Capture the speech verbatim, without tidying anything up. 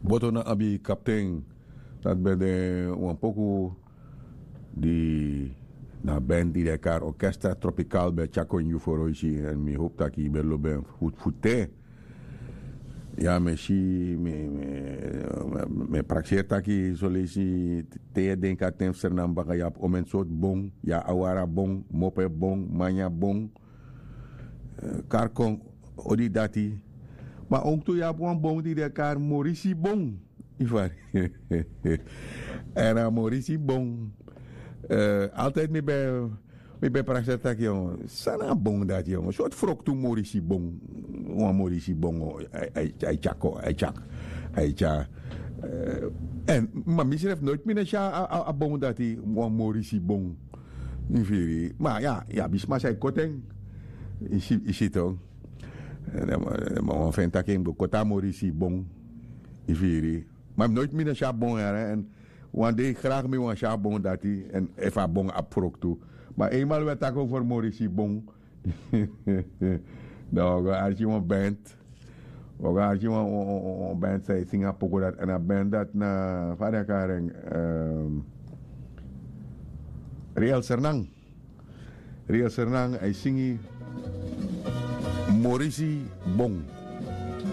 Boto na abi kapten. Dati ben de wan poku di na ben di de kari orkesta tropikal ben tyako ini yu foroisi. Èn mi hopu taki yu ben lobi en fu fu te. Ya mi e si mi mi mi e prakseri taki soleisi te yu e denki a ten fu sernam baka yu abi omen sortu bon. Yu abi awara bon, mope bon, manya bon. Kari kon odi dati. Ma owktu yu abi wan bon di den e kari morisi bon. Yu fari? Èn a morisi bon. Altidi mi ben mi ben prakseri taki yongo san na a bon dati yongo sortu froktu morisi bon. Wan morisi bon a e tyako a e tyako a e tyako. Èn ma misrefi noiti mi no e si a bon dati wan morisi bon. Yu firi ma ya yu abi sma san e koti en. Yu si yu si tok. Ma wan feni taki en go koti a morisi bon. Yu firi ma noiti mi no si a bon yara èn wan dei gragi mi wani si a bon dati. Èn efu a bon abi froktu ma einmal wi e taki over morisi bon. Dan wi o go arki wan band. Wi o go arki wan wan wan wan band san e singi a poku dati èn a band dati na fa den e kari en riel sernan. Riel sernan a e singi morisi bon.